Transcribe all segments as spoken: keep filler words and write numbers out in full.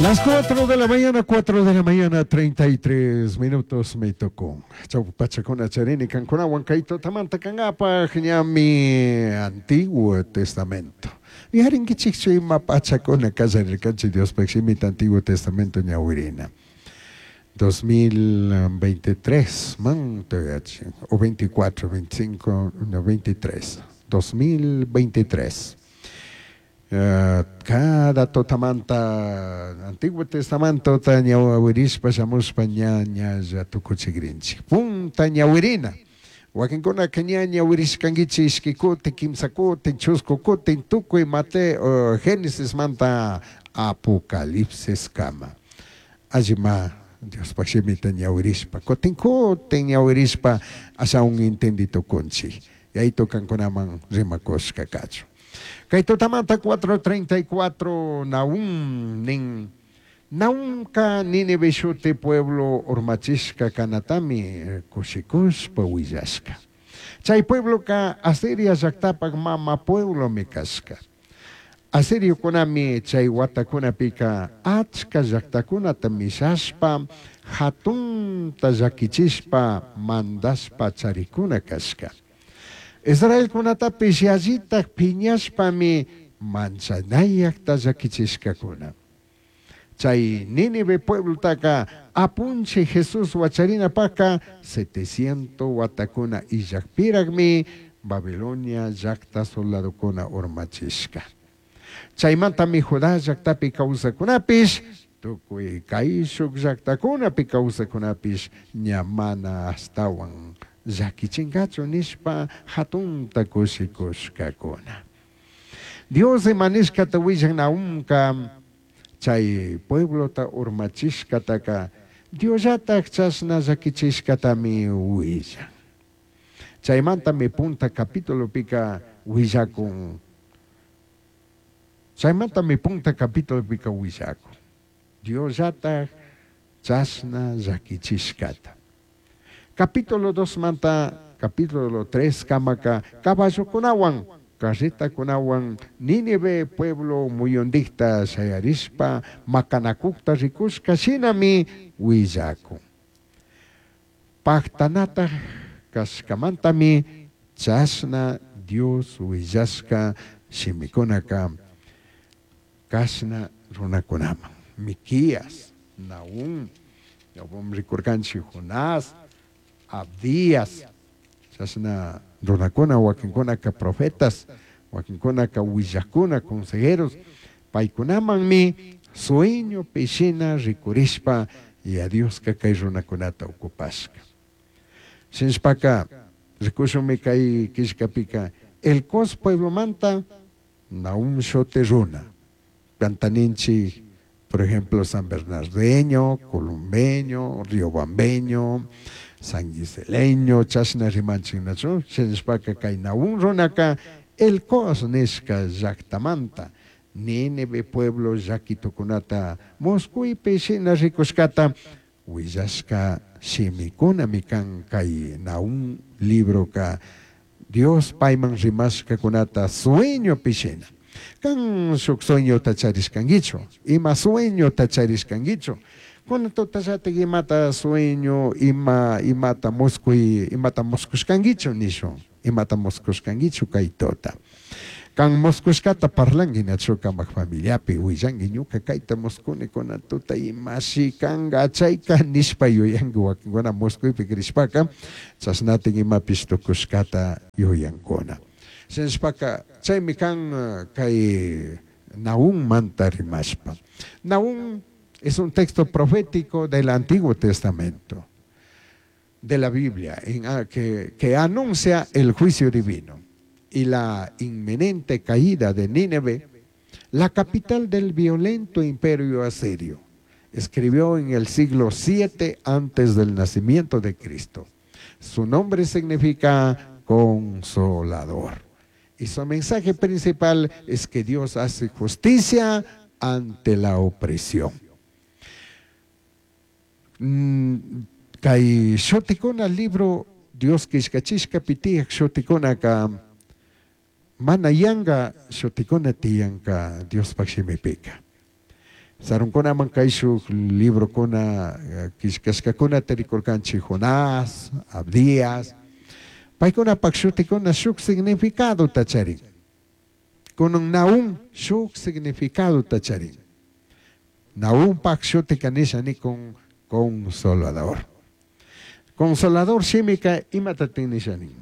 Las cuatro de la mañana, cuatro de la mañana, treinta y tres minutos me tocó. Chau pachakuna charini kankunawan kay tutamanta kankapaj ñami Antiguo Testamento. Yuyarinkichikchu ima pachakuna kallarirkanchik Diospaj shimita Antiguo Testamento ñawirina? dos mil veintitrés man o veinticuatro, veinticinco, no, veintitrés, dos mil veintitrés. Uh, cada tutamanta Antiguo Testamento ta ñawirishpa shamushpa ña ñalla tukuchikrinchik. Punta ñawirina. Wakinkunaka ña ñawirishkankichik ishki kutin, kimsa kutin, chusku kutin, tukuy Mateo, uh, Génesis manta Apocalipsis kama. Allima Diospaj shimita ñawirishpa, kutin kutin ñawirishpa ashawan entendi tukunchik. Yayito kankunaman rimakushka kachun. Kay tutamanta cuatro treinta y cuatro Nahum nin. Nahumka Nínive shuti pueblo urmachishka kanatami kushikushpa willashka. Chay puebloka Asiria llaktapak mama pueblomi kashka. Asiriokunami chay watakunapika achka llaktakunata mishashpa, hatunta llakichishpa, mandashpa charikuna kashka. Israelkunatapish yallitaj piñashpami manchanayakta llakichishkakuna. Chay Nínive pueblotaka Apunchij Jesús wacharinapaka setecientos watakuna illakpirakmi Babilonia llakta soldadokuna urmachishka. Chaymantami Judá llaktapi kawsakunapish, tukuy kayshuk llaktakunapi kawsakunapish ña mana ashtawan llakichinkachu nishpa hatunta kushikushkakuna. Dios ima nishkata willan Nahumka chay pueblota urmachishkataka Diosllatak chashna llakichishkatami willan. Chaymantami punta capitulopika willakun. Chaymantami punta capitulopika willakun. Diosllatak chashna llakichishkata. Capítulo dos manta capítulo tres kamaka caballokunawan, carretakunawan Nínive pueblo muyundikta shayarishpa makanakukta rikushka shinami willakun. Pajtanataj kashkamantami chashna Dios willashka shimikunaka kashna runakunaman. Miquías, Nahum, rikurkanchik Jonás, Abdías, chashna runakuna, wakinkunaka profetas, wakinkunaka willakuna, consejeros, paykunamanmi sueñopi shina rikurishpa y a Dioska kay runakunata ocupashka. Shinashpaka rikushunmi kay killkapika Elcos pueblomanta Nahum shuti runa. Cantaninchik, por ejemplo, San Bernardeño, Columbeño, Riobambeño, San Giseleño, chashna rimanchik nachu, shinashpaka kay Nahum runaka Elcos nishka llaktamanta Nínive pueblo llakitukunata muskuypi shina rikushkata willashka shimikunami kan kay Nahum libroka Dios payman rimashkakunata sueñopi shina. Kan shuk sueñota charishkankichu, ima sueñota charishkankichu. Kunan tutallatik imata sueño, ima imata muskuy, imata muskushkankichu nishun, imata muskushkankichu kay tuta. Kan muskushkata parlanki nachu kamak familiapi willanki ñuka kayta muskuni kunan tuta imashi kanka chayka nishpa yuyanki wakinkuna muskuypi krishpaka chashnatik imapish tukushkata yuyankuna. Shinashpaka chaymi kan kay Nahum manta rimashpa. Nahum es un texto profético del Antiguo Testamento, de la Biblia, en, ah, que, que anuncia el juicio divino y la inminente caída de Nínive, la capital del violento imperio asirio. Escribió en el siglo siete antes del nacimiento de Cristo. Su nombre significa consolador. Y su mensaje principal es que Dios hace justicia ante la opresión. Mm, kay shutikuna libro Dios killkachishkapi tiyaj shutikunaka mana yanga shutikuna tiyanka Diospaj shimipika. Sarunkunaman kayshuk librokuna killkashkakunata rikurkanchik Jonás, Abdías. Paykunapak shutikuna shuk significadota charin. Kunan Nahum shuk significadota charin. Nahumpak shutika nisha nikun consolador. Consolador shimika imatatin nisha nin.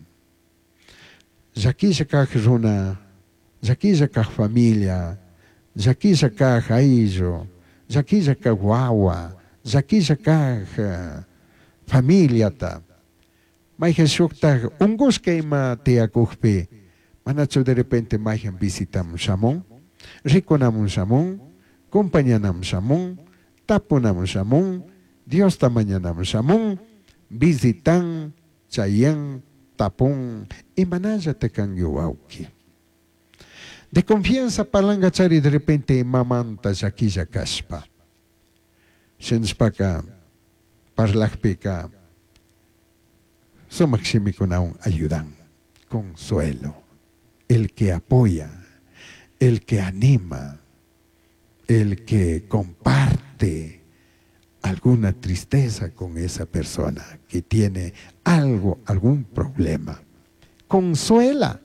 Llaquilla kaj runa, llaquilla kaj familia, llaquilla kaj ayllu, llaquilla kaj wawa, llaquilla kaj familiata. Mayhan shuktaj ungushka ima tiyakukpi, manachu de repente mayhan visitamun shamun, rikunamun shamun, compañanamun shamun, tapunamun shamun, Diosta mañanamun shamun, visitan, chayan, tapun, imanallata kanki wawki. De confianza parlangachari de repente imamanta llaquilla kashpa. Shinashpaka parlakpika sumak shimikunawan ayudan, consuelo, el que apoya, el que anima, el que comparte alguna tristeza con esa persona que tiene algo, algún problema. Consuela.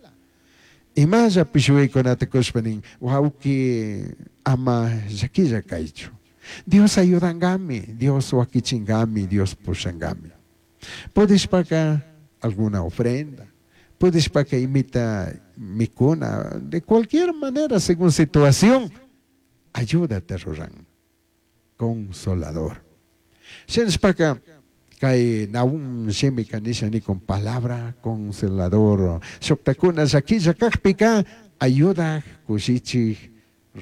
Imalla pishuikunata kushpanin, wawki ama llaquilla kaychu. Dios ayudangami, Dios wakichingami, Dios pushangami. Pudishpaka alguna ofrenda, pudishpaka imita mikuna, de cualquier manera, según situación, ayúdate ruran. Consolador. Shinashpaka kay Nahum shimika nisha nikun palabra consolador. Shuktakuna llaquilla kakpika ayuda kushichik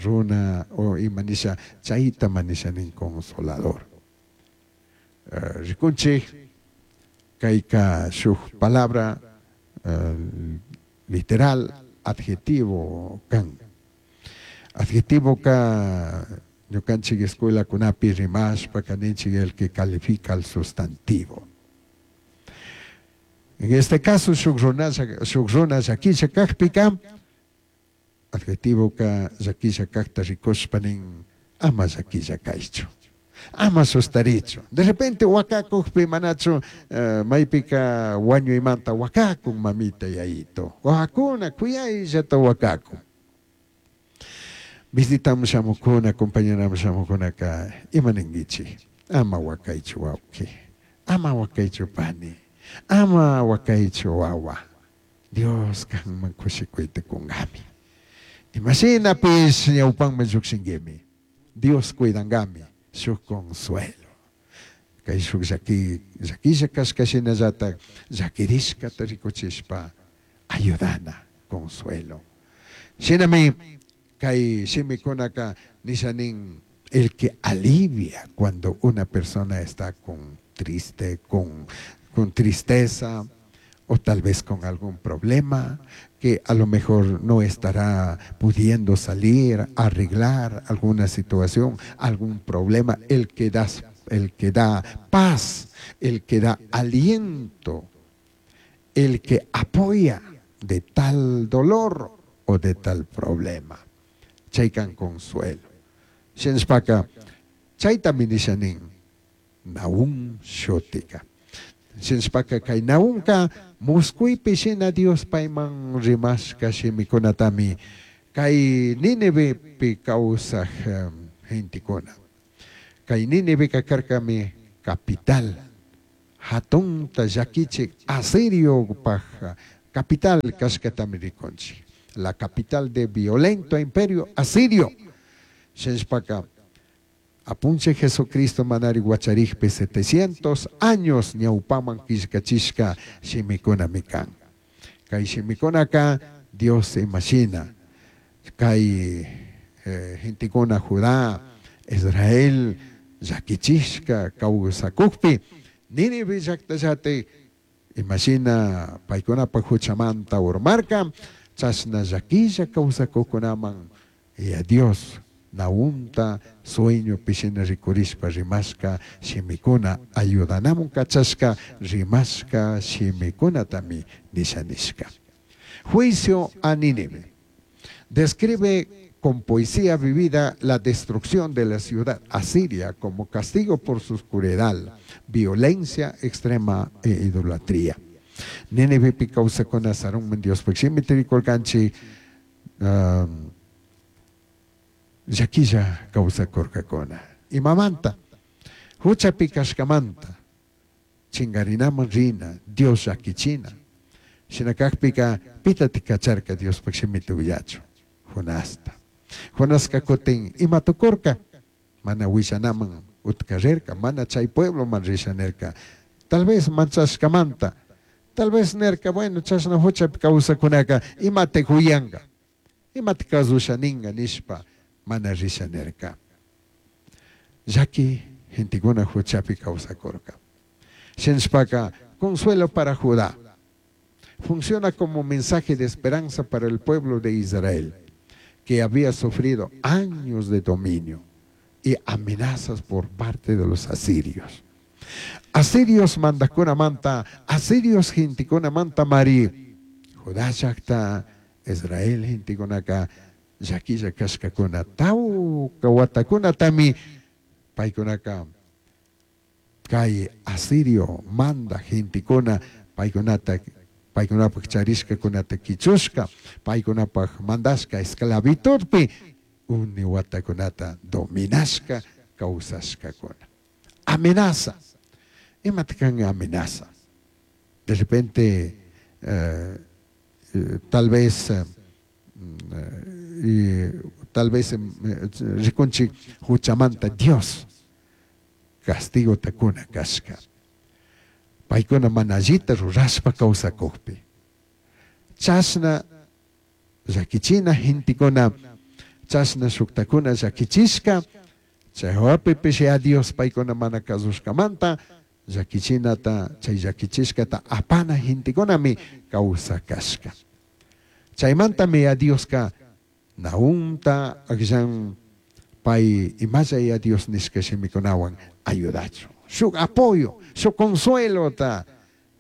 runa o imanisha chayta manisha nin consolador. Uh, rikunchik kayka shuk palabra uh, literal adjetivo kan. Adjetivo ka ñukanchik escuela kunapi rimashpa kaninchik el que califica al sustantivo. En este caso shuk runa shuk runa llaquilla kakpika adjetivo ka llaquilla kakta rikushpa nin ama llaquilla kaychu. Ama sustarichu. De repente wakakukpi manachu uh, maypika wañuymanta wakakun mamita yayito. Wakakuna kuyayllata wakakun. Visitamos shamukuna, acompañamos shamukunaka ima ninkichik. Ama wakaychu wawki. Ama wakaychu pani. Ama wakaychu wawa. Dios kanman kushikuyta kungami. Imashinapis ñawpanman llukshinkimi. Dios cuidangami. Shuk consuelo. Kay shuk llaki llakilla kashka shinallata llakirishkata rikuchishpa ayudana consuelo. Shinami kay shimikunaka nisha nin el que alivia cuando una persona está con triste, con, con tristeza o tal vez con algún problema que a lo mejor no estará pudiendo salir, arreglar alguna situación, algún problema, el que da, el que da paz, el que da aliento, el que apoya de tal dolor o de tal problema. Chaykan consuelo. Shinashpaka, chaytami nisha nin, Nahum shutika. Shinashpaka kay Nahumka muskuypi shina Dios payman rimashka shimikunatami kay Nínivepi kawsaj um, gentekuna. Kay Níniveka karkami capital. Hatunta llakichik Asiriopaj capital kashkatami rikunchik. La capital de violento imperio asirio. Shinashpaka apunche Jesucristo manari wacharikpi setecientos años ñawpaman killkachishka shimikunami kan. Kay shimikunaka Dios imashina. Kay eh, gentekuna Judá, Israel llakichishka kawsakukpi Nínive llaqtallati imashina paykunapak huchamanta urmarka chashna llaquilla kawsakuqkunaman y a Dios Nahumta sueño pishina rikurishpa rimashka shimikuna ayudanamun kachashka rimashka shimikunatami nisha nishka. Juicio a Nínive. Describe con poesía vivida la destrucción de la ciudad asiria como castigo por su oscuridad, violencia extrema e idolatría. Nínivepi kawsakuna sarunman Diospaj shimita rikurkanchik um, llaquilla kawsakurkakuna. Imamanta, huchapi kashkamanta, chingarinaman rina, Dios llakichina. Shina kakpika pitatik kacharka Diospaj shimita willachun, Jonasta. Jonaska kutin ima tukurka, mana willanaman utka rirka, mana chay puebloman risha nirka. Tal vez manchashkamanta, tal vez nirka, bueno, chashna huchapi kawsakunaka imata huyanka, imata kasusha ninga nishpa mana risha nirka. Llaki gentekuna huchapi kawsakurka. Shinashpaka, consuelo para Judá. Funciona como mensaje de esperanza para el pueblo de Israel, que había sufrido años de dominio y amenazas por parte de los asirios. Asirios mandajkunamanta, asirios gentekunamanta mari, Judá llakta, Israel gentekunaka, llaquilla kashkakuna, tawka watakunatami paykunaka kay asirio manda gentekuna paykunata paykunapaj charishkakunata kichushka, paykunapaj mandashka esclavitudpi uni watakunata dominashka kawsashkakuna. Amenaza. Imata kan amenaza? De repente, eh, eh, tal vez, eh, eh, tal vez eh, rikunchik huchamanta Dios castigo takuna kashka. Paykuna mana allita rurashpa kawsakukpi. Chashna llakichina gentekuna, chashna shuktakuna llakichishka, chay hawapipish ya Dios paykuna mana kasushkamanta llakichinata, chay llakichishkata apana gentekunami kawsakashka. Chaymantami ya Dioska Nahumta akllan pay imalla ya Dios nishka shimikunawan ayudachun. Shuk apoyo, shuk consuelota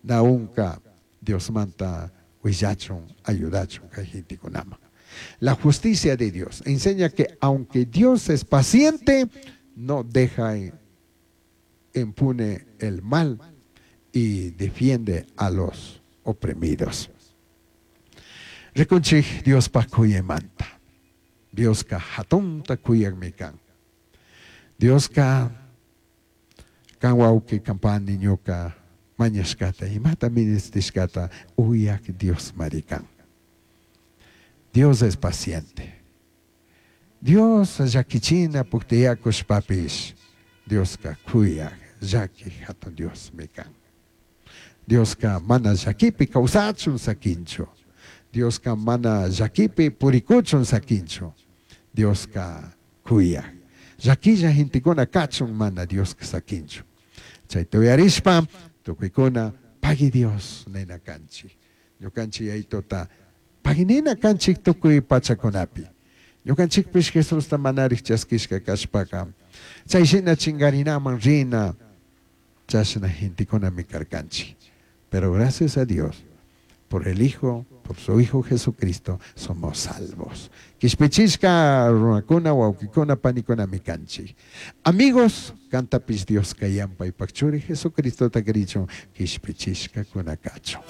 Nahumka Diosmanta willachun, ayudachun kay gentekunaman. La justicia de Dios enseña que aunque Dios es paciente, no deja impune el mal y defiende a los oprimidos. Rikunchik Diospaj kuyaymanta. Dioska hatunta kuyakmi kan. Dioska kan wawqi kan pani ñuka mañashkata imata ministishkata uyak Dios marikan. Dios es paciente. Dios llakichina puktiyakushpapish Dioska kuyak llaki hatun Diosmi kan. Dioska mana llakipi kawsachun sakinchu. Dioska mana llakipi purikuchun sakinchu. Dioska kuyak. Llakilla gentekuna kachun mana Dioska sakinchu. Chayta uyarishpa tukuykuna pagui Dios nina kanchik. Ñukanchik Yayituta pagui nina kanchik tukuy pachakunapi. Ñukanchikpish Jesusta manarik chaskishka kashpaka chay shina chingarinaman rina chashna gentekunami karkanchik. Pero gracias a Dios por el Hijo, por su Hijo Jesucristo, somos salvos. Kishpichishka runakuna, wawkikuna, panikunami kanchik. Amigos, kantapish Dios kayan paypak churi Jesucristota krichun, kishpichishkakuna kachun.